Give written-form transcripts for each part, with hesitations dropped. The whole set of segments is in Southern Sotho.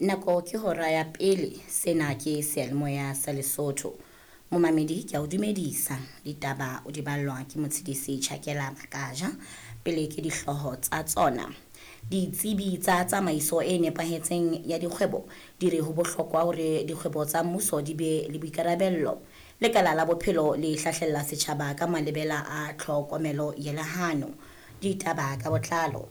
Nako ke hora ya pele, sena ke seyalemoya sa Lesotho. Momamedi ke a o dumedisa, ditaba o di ballwa ke Motshedisi Tjhakela Makaja. Pele ke dihlooho tsa tsona. Ditsebi tsa tsamaiso e nepahetseng ya dikgwebo di re ho bohlokwa hore dikgwebo tsa mmuso di be le boikarabello. Lekala la bophelo le hlahlella setjhaba ka malebela a tlhokomelo ya lehano. Ditaba ka botlalo.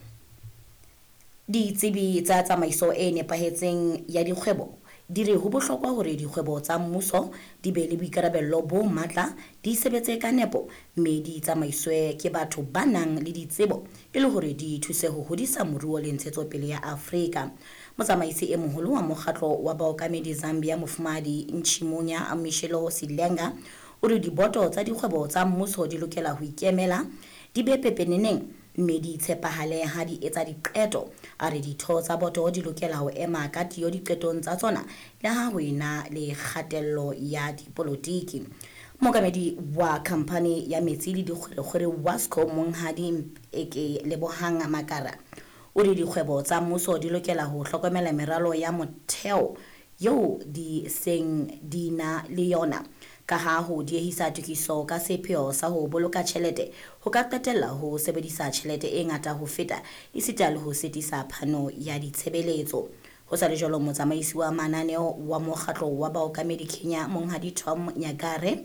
Ditsebi tsa tsamaiso e nepahetseng ya dikgwebo di re ho bohlokwa hore dikgwebo tsa mmuso di be le boikarabello bo matla, di sebetse ka nepo mme di tsamaiswe ke batho ba nang le ditsebo e le hore di thuse ho hodisa moruo le ntshetsopele ya Afrika. Motsamaisi e moholo wa mokgatlo wa baokamedi Zambia Mofumahadi Nchimunya Michelo Silenga o re diboto tsa dikgwebo tsa mmuso di lokela ho ikemela, di be pepeneneng mme di tshepahale ha di etsa diqeto. A re ditho tsa boto di lokela ho ema ka tiyo diqetong tsa tsona le ha ho ena le kgatello ya dipolotiki. Mookamedi wa khamphani ya metsi le dikgwerekgwere Wasco Monghadi Mpeke Lebohang Makara o re dikgwebo tsa mmuso di lokela ho hlokomela meralo ya motheo eo di seng di na le yona, ka ha ho diehisa tokiso ka sepheo sa ho boloka tjhelete ho ka qetella ho sebedisa tjhelete e ngata ho feta esita le ho sitisa phano ya ditshebeletso. Ho sa le jwalo, motsamaisi wa mananeo wa mokgatlo wa baokamedi Kenya Monghadi Tom Nyagare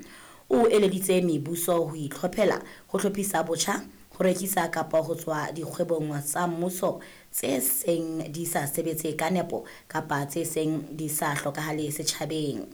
o eleditse mebuso ho itlhophela ho hlophisa botjha, ho rekisa kapa ho tswa dikgwebong tsa mmuso tse seng di sa sebetse ka nepo kapa tse seng di sa hlokahale setjhabeng.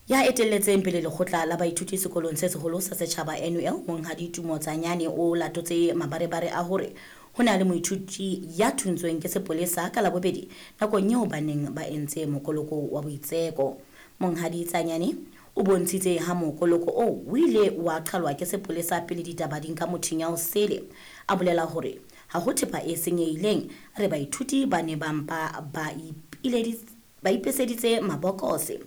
Ya etelletseng pele lekgotla la baithuti sekolong se seholo sa setjhaba NUL Monghadi Tumo Tsanyane o latotse mabarebare a hore ho na le moithuti ya thuntsweng ke sepolesa ka Labobedi nakong eo ba neng ba entse mokoloko wa boitseko. Monghadi Tsanyane o bontshitse ha mokoloko oo o ile wa qhalwa ke sepolesa pele ditaba di nka mothinya o sele. A bolela hore ha ho thepa e senyehileng, a re baithuti ba ne ba mpa ba ipeseditse mabokose.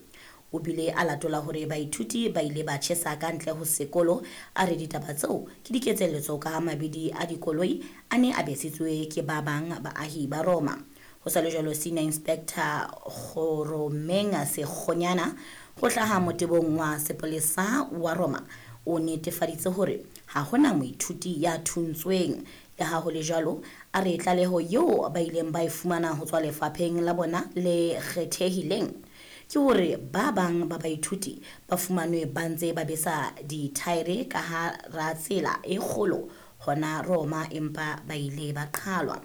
O bile a latola hore baithuti ba ile ba tjhesa ka ntle ho sekolo, a re ditaba tseo ke diketselletso ka ha mabidi a dikoloi a ne a besitswe ke ba bang baahi ba Roma. Ho sa le jwalo, Senior Inspector Kgoromeng Sekgonyana ho hlaha motebong wa sepolesa wa Roma o netefaditse hore ha hona moithuti ya thuntsweng. Le ha ho le jwalo, a re tlaleho eo ba ileng ba e fumana ho tswa lefapheng la bona le kgethehileng ke hore ba bang ba baithuti ba fumanwe ba ntse ba besa dithaere ka hara tsela e kgolo hona Roma, empa ba ile ba qhalwa.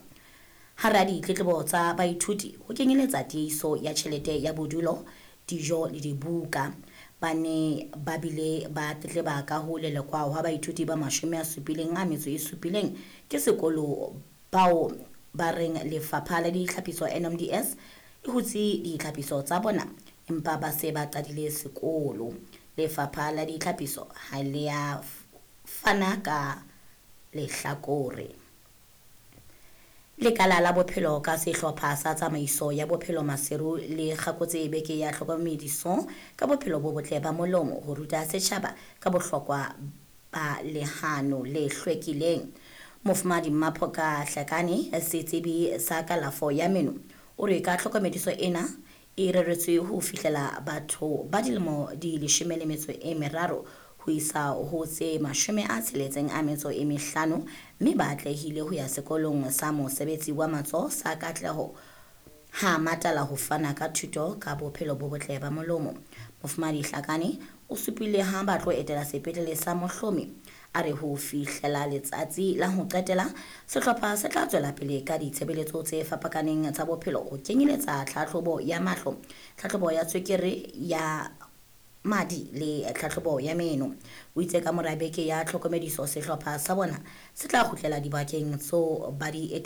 Hara ditletlebo tsa baithuti ho kenyeletsa tiehiso ya tjhelete ya bodulo, dijo le dibuka. Ba ne ba bile ba tletleba ka ho lelekwa hwa baithuti ba 77 ke sekolo bao ba reng lefapha la ditlhapiso NMDS e hutse ditlhapiso tsa bona empa ba se ba qadile sekolo. Lefapha la ditlhapiso ha le a fana ka lehlakore. Lekala la bophelo ka sehlopha sa tsamaiso ya bophelo Maseru le kgakotse beke ya tlhokomediso ka bophelo bo botle ba molomo ho ruta setjhaba ka bohlokwa ba lehano le hlwekileng. Mofumahadi Maphoka Hlakane, setsebi sa kalafo ya meno, o re ka tlhokomediso ena e reretswe ho fihlela batho ba dilemo di 13 ho isa ho tse 65 mme ba atlehile ho ya sekolong sa mosebetsi wa matsoho sa Katleho ha Matala ho fana ka thuto ka bophelo bo botle ba molomo. Mofumahadi Hlakane o supile ha ba tlo etela sepetlele sa Mohlomi. A re ho fihlela letsatsi la ho qetela, sehlopha se tla tswela pele ka ditshebeletso tse fapakaneng tsa bophelo ho kenyeletsa tlhahlobo ya mahlo, tlhahlobo ya tswekere ya madi le tlhahlobo ya meno. O itse ka mora beke ya tlhokomediso sehlopha sa bona se tla kgutlela dibakeng tseo ba di etetseng.